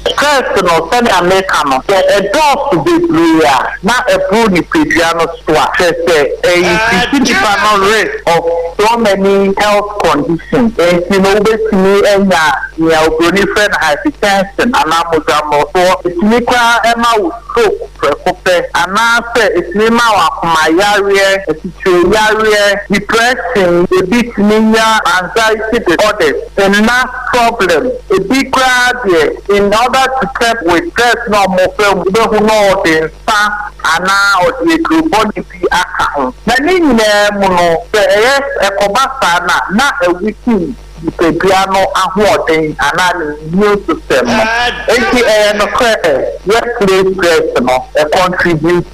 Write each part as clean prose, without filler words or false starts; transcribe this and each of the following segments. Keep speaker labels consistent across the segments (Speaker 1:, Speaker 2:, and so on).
Speaker 1: Stress no, sɛnea meka no, sɛ ɛdɔɔso bebree a, na ɛboro nipadua no so a, kyerɛ sɛ ɛ increase nipa no risk of so many health conditions. Enti no wobɛtumi anya nea oburoni frɛ no hypertension anaa mogya mmorosoɔ. Ɛtumi koraa ma wo stroke prɛko pɛ, anaasɛ ɛtumi ma wo akoma yareɛ, asikyire yareɛ, depression, ebi tumi nya anxiety disorders, nna problem, ebi koraa deɛ in order to cope with stress no a wɔfa mu, wobɛhu na ɔde nsa anaa ɔde aduro bɔne bi aka ho. Na ne nyinaa mu no, sɛ ɛyɛ ɛkɔba saa no a, na aweaken nipadua no ahoɔden anaa ne immune system no. Enti ɛyɛ nokorɛ, workplace stress no, ɛ contribute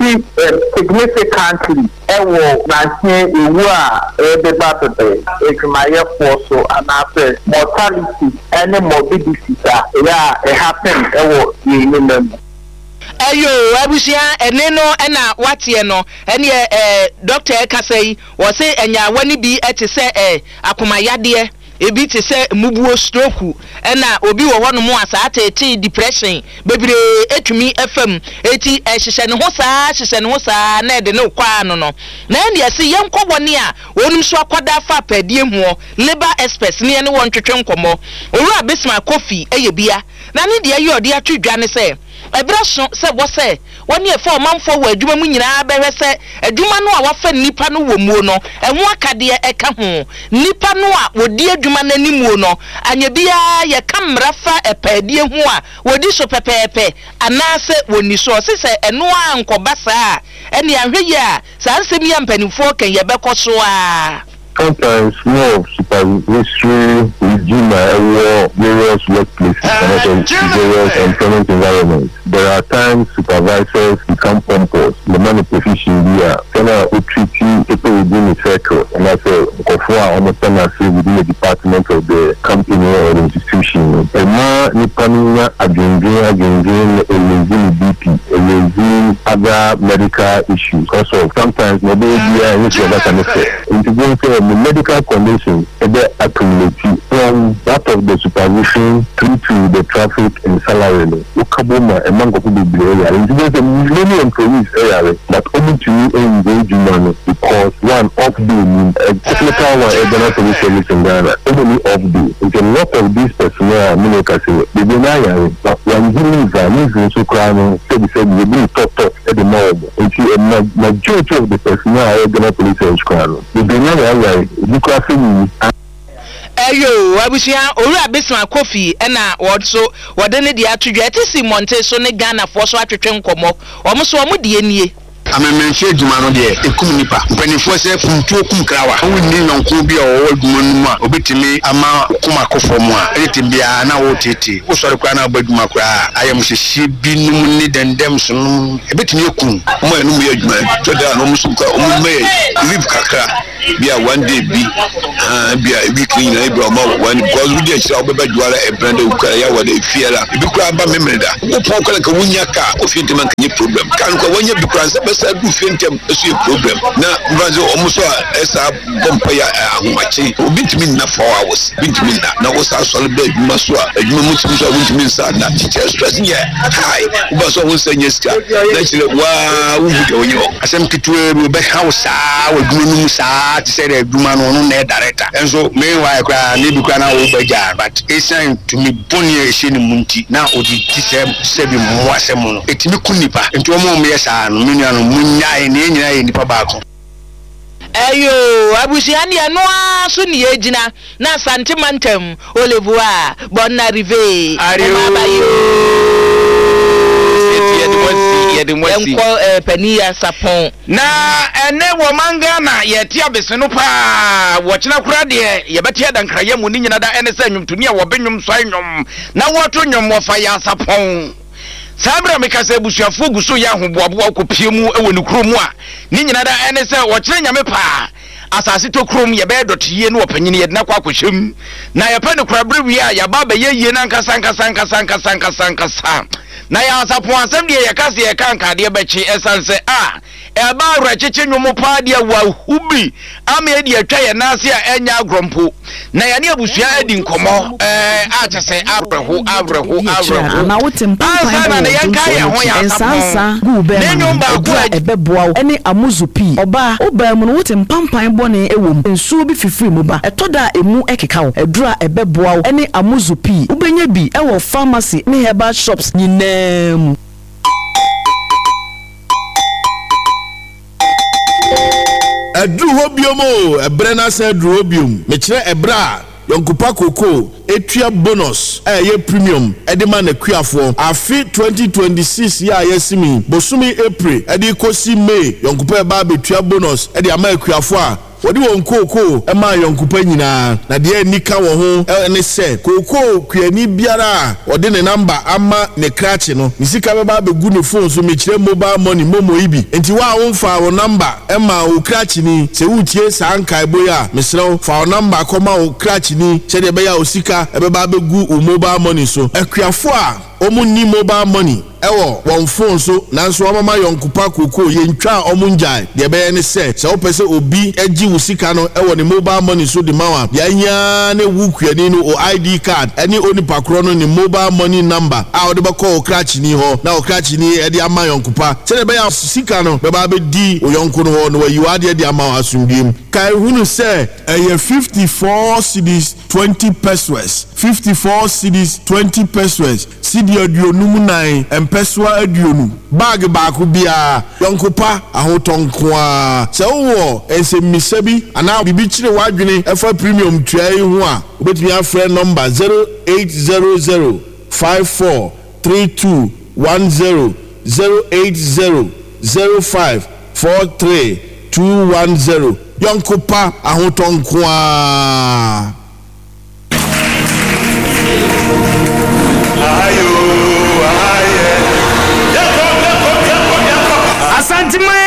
Speaker 1: significantly wɔ nanteɛ ewu a ɛrebeba bebe adwumayɛfoɔ so anaasɛ mortality ne morbidities a ɛyɛ a ɛ happen wɔ yɛn nnwuma mu.
Speaker 2: Ɛyoo abusua ɛne no na wateɛ no ɛneɛ eh doctor ɛkasa yi wɔse ɛnyaawa no bi te sɛ eh akoma yadeɛ ebi te sɛ mmubuo stroke ɛna obi wɔ hɔ nom a saa teetee depression bebree ɛtumi ɛfa mu eti ɛhyehyɛ ne ho saa hyehyɛ ne ho saa na ɛde no kɔ ano no na ɛneɛ se yɛnkɔ wɔne a wɔnom nso akwadaa fa apɛɛdeɛ muɔ labour experts ne yɛne wɔn ntwetwe nkɔmmɔ Owura Bismarck Kofi ɛyɛ bia Na ne deɛ yɛ ɔde ato dwa ne sɛ, ɛberɛ so sɛ wɔ sɛ wɔne ɛfa ɔmanfoɔ wɔ adwuma mu nyinaa bɛhwɛ sɛ adwuma no a wɔafa nnipa no wɔ muo no, ɛho akadeɛ ɛka ho. Nnipa no a wɔdi adwuma no animuo no, anyɛ biara yɛka mmara fa ɛpaadie ho a, wɔdi so pɛpɛɛpɛ anaasɛ wɔnni so. Ɔse sɛ ɛno ara ankɔba saa a, ɛnneɛ anhwɛ yie a, saa nsɛm yi a mpanimfoɔ reka yi, ɛbɛkɔ so ara.
Speaker 3: Sometimes more of supervisory regime a ɛwɔ various workplaces anaasɛ various employment environments. There are times supervisors become pompous, wɔma no position bi a sɛnea ɔtreati people within ne circle anaasɛ nkurɔfoɔ a wɔhyɛ n'ase within the department of the company or the institution no, ɛma nipa no nya adwendwen adwendwen na ɛraise ne BP, ɛraise other medical issues because of sometimes nea ɔbɛyɛ biara ɛnyɛ supervisor no fɛ. Nti bohu sɛ me medical condition bɛ accumulate from that of the supervision through to the traffic and salary no wo ka bom a ɛma nkorɔfo bebree yare. Nti bohu sɛ many employees yare but ɔmo ntumi ngyae adwuma no because one off day nnim, a technical one ɛyɛ Ghana Police Service in Ghana ɔmo nni off day nti a lot of these personnel a me ne wo kasa yi bebree no ara yare but wangye leave a leave nso koraa no sɛbi sɛbi yɛbu no tɔt tɔt de ma wɔn. Nti ma majority of the personnel a ɛwɔ Ghana Police Service koraa no, bebree no ara yare, ebi koraa sɛ wuwu.
Speaker 2: Ɛyoo abusua, Owura Bismarck Kofi na wɔn nso wɔde ne deɛ ato dwa. Ɛte si mmɔnten so ne Ghanafoɔ so atwetwe nkɔmmɔ. Wɔn nso wɔn deɛ nie.
Speaker 4: Amemenemfe adwuma no deɛ, ɛkum nnipa. Mpanimfoɔ sɛ, Funtuo kum krawa. Wonni yɔnko bi a ɔwɔ adwuma no mu a ɔbɛtumi ama wo koma akɔ fam a, ɛde tem biara na woreteetee. Wosɔre koraa na woba adwuma koraa a, ayamhyehyeɛ binom ne dɛndɛm so nom. Ebetumi aku wo.
Speaker 5: Wɔn a yɛne wɔn yɛ adwuma tɔ da a na wɔn nso kura wɔn mma yɛ leave kakra bi a one day bi ah bi a week ne nyinaa ebi a wɔn one because wodi akyire a wɔbɛba dwara ɛbrɛ dɛ okura yɛ awɔ dɛ efie la ebi kura aba memere da wopɔn kora nka wonya kaa kɔ fie ntɛm anka nye problem kaa no kora wɔnya bi kora nsa bɛsa du fie ntɛm ɛso yɛ problem na mfa sɛ wɔn nso a ɛsa bɔ mpaeɛ a ahomakye obi ntumi nna 4 hours bi ntumi nna na wo saa sɔre bɛ adwuma so a adwuma mu tumi so a wontumi nsa nna kyekyɛ stress yɛ high woba so a wo nsa nyɛ sika na kyerɛ waa wohu deɛ wonyɛ hɔ.
Speaker 4: Asɛm ketewaa bi ɔbɛha wo saa wɔ adwuma no mu saa te sɛ deɛ adwuma no ɔno na ɛyɛ director nso meanwhile koraa na ebi koraa na wo ba gyaa but esiane tumi bɔne a ɛhyɛ ne mu nti na ɔde di sɛ sɛbi mmoasɛm no ɛtumi ku nnipa nti wɔn a wɔyɛ saa no me nuanom monnyae na yɛn nyinaa yɛ nnipa baako.
Speaker 2: Ɛyoo abusua neɛ ɛno ara so ne yɛgyina na Asante mantam Olevoa Bonne arrivée
Speaker 6: Ario
Speaker 2: Ɛma aba yoo
Speaker 6: Yɛte yɛde mo asi yɛde mo asi.
Speaker 2: Yɛnkɔ eh, Panin Yasapɔn.
Speaker 6: Na ɛnɛ wɔ man Ghana yɛte abese no paa wɔkyena koraa deɛ yɛbɛte adankrayɛ mu ne nyina da ɛne sɛ nnwomtoni a wɔbe nnwom sɔe nnwom na wɔto nnwom wɔfa Yasapɔn. Saa bere a meka sɛ abusuafoɔ gu so yɛ ahoboaboa kɔpie mu wɔ ne kuro mu a, ne nyina da ɛne sɛ wɔkyerɛ Nyame paa. Asase tɔ kurom, yɛbɛyɛ dɔte yie ne ɔpanyini, yɛde no akɔ akɔhyɛ mu. Na yɛpɛ no kora berɛ wie a, yɛaba abɛyɛ yie no ankasa ankasa ankasa ankasa ankasa ankasa. Na Nyansapɔn asɛm deɛ yɛka sɛ yɛka nka adeɛ bɛkye ɛsiane sɛ a ɛba awerɛkyekye nnwom paa deɛ wahu bi ama ɛdi atwa yɛn nan ase a ɛnyɛ agorɔ mpo. Na yɛne abusua adi nkɔmmɔ ɛɛ a kyɛ sɛ awerɛho awerɛho awerɛho
Speaker 7: Anaa wote mpampan
Speaker 6: ansa na
Speaker 7: wɔ
Speaker 6: ne
Speaker 7: wo
Speaker 6: yɛnka
Speaker 7: dwonsɔ
Speaker 6: yɛn
Speaker 7: no
Speaker 6: ho
Speaker 7: akyi.
Speaker 6: Nyansapɔn
Speaker 7: Nsansa gu wo
Speaker 6: ne
Speaker 7: bɛrima no
Speaker 6: nnwom
Speaker 7: ho.
Speaker 6: baako
Speaker 7: Aduru
Speaker 6: a
Speaker 7: a ɛbɛboa wo ne amuzu pii. Ɔbaa, wo baa mu no wote mpampan bɔne wɔ mu. Nsuo bi fifiri mu ba. Ɛtɔ da a emu keka wo. Aduru a ɛbɛboa wo ne amuzu pii. Wobɛnya bi wɔ pharmacy ne herbal shops nyinaa mu.
Speaker 8: Aduru hɔ biom oo, ɛberɛ no asan aduru hɔ biom. Mekyerɛ ɛberɛ a Yɔnkopa Cocoa tua bonus a ɛyɛ premium de ma n'akuafoɔ. Afe 2026 yi a yɛasim yi, bosome April de rekɔsi May, Yɔnkopa reba abɛtua bonus de ama akuafoɔ a Wɔde wɔn kookoo maa ayɔnkopa nyinaa, na deɛ anika wɔ ho ne sɛ, kookoo kuani biara a ɔde ne namba ama ne krakye no, ne sika bɛba abɛgu ne fon so, mekyerɛ mobile money, momo yi bi. Enti wo a womfaa wo namba mmaa wo krakyeni, sɛ woretie saa nkaebɔ yi a, mesrɛ wo, fa wo namba kɔma wo krakyeni sɛdeɛ ɛbɛyɛ a wo sika bɛba abɛgu wo mobile money so. Akuafoɔ a wɔnni mobile money wɔ wɔn fon so nanso wɔamama yɔnko pa kookoo, yɛntwa a wɔngyae. Deɛ ɛbɛyɛ ne sɛ, sɛ wopɛ sɛ obi gye wo sika no wɔ ne mobile money so de ma wo a, deɛ ahia ara ne wo kuani no wo ID card ne onipa korɔ no ne mobile money number a wode bɛkɔ wo krakyeni hɔ na wo krakyeni de ama yɔnko pa sɛdeɛ ɛbɛyɛ a sika no bɛba abɛdi wo yɔnko no hɔ na wayi w'adeɛ de ama wo asomdwoeɛ mu. Kae hunu sɛ ɛyɛ 54 cedis 20 pesewas, 54 cedis 20 pesewas, Sidi 54 mpɛsoa 20, bag baako biara, yɔnko pa, ahotɔ nko ara. Sɛ wowɔ nsɛmmisa bi anaa biribi kyere w'adwene ɛfa premium tua yi ho a, wobɛtumi afrɛ nɔmba 0800 54 32 10, 080 05 43 210. Yɔnko pa, ahotɔ nko ara.
Speaker 9: Asanteman!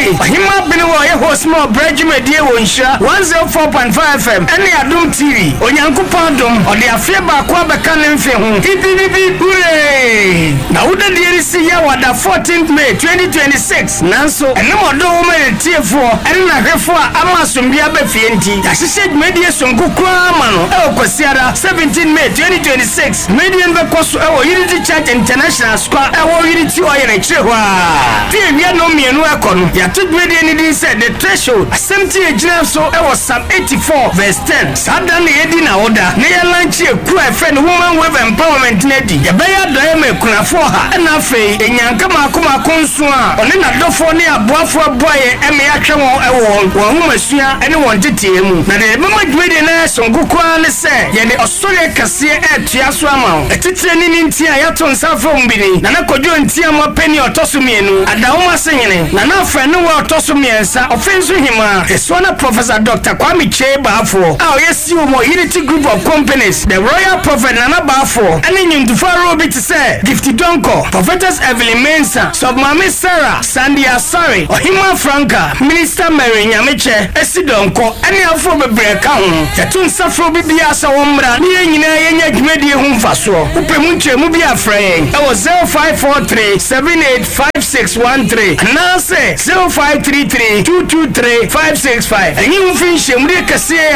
Speaker 9: Ɔhemmaa Bene wɔ ɔyɛ host ma ɔbrɛ dwumadie wɔ Nhyira 104.5 FM ɛne Adom TV. Onyankopɔn adom, ɔde afeɛ baako abɛka ne mfe ho. Pipipipi hurray! Na wodadie resi Yawada 14th May 2026. Nanso, ɛnam ɔdɔ a ɔwɔ ma yɛn atiefoɔ ne n'ahwɛfoɔ a ama asomdwoeɛ aba fie nti, yɛahyehyɛ dwumadie sononko koraa ama no wɔ Kwasiada, 17 May 2026. Dwumadie no bɛkɔ so wɔ Unity Church International Square a ɛwɔ Unity Oil akyire hɔ ara. Firi awia nnɔnmienu rekɔ no, yɛato dwumadie no din sɛ The Threshold. Asɛmti a ɛgyina so wɔ Psalm 84 verse 10. Saa da no na yɛdi n'awoda na yɛlankye ekuo a yɛfrɛ no Woman Wave Empowerment no adi. Yɛbɛyɛ adɔeɛ ma akunafoɔ ɔha ɛna afei nnyanka mmaako mmaako nson a ɔne n'adɔfoɔ ne aboafoɔ aboa yɛn ma yɛahwɛ wɔn wɔ wɔn nwomasua ne wɔn nteteeɛ mu. Na deɛ ɛbɛma dwumadie no ayɛ sononko koraa ne sɛ yɛde ɔsɔreɛ kɛseɛ retoa so ama wo. Atitire ne ne nti a yɛato nsa afrɛ wɔn bi ni, Nana Kwadwo Ntiamoa Panin a ɔtɔ so mmienu, Adahoma Senyene, Nana Afrɛnewaa a ɔtɔ so mmiɛnsa, Ɔfenso Hemaa, Esuana Professor Dɔkta Kwame Kyei Baafoɔ a ɔyɛ CEO wɔ Unity Group of Companies, The Royal Prophet Nana Baafoɔ, ne nnwontofo ahorow bi te sɛ Gifty Donkor, Prophetess Evelyn Mensah, Sɔfomaame Sarah, Sandy Asare, Ɔhemmaa Franca, Minister Mary Nyamekyɛ, Esi Donkor, ne afoforo bebree ka ho. Yɛto nsa frɛ obi biara sɛ ɔmmra na yɛn nyinaa yɛnya dwumadie ho mfasoɔ. Wopɛ mu nkyerɛmu bi a frɛ yɛn wɔ 0543 78 5613 anaasɛ 0533 223 565. Ɛnyi wo mfi nhyiamudie kɛseɛ a.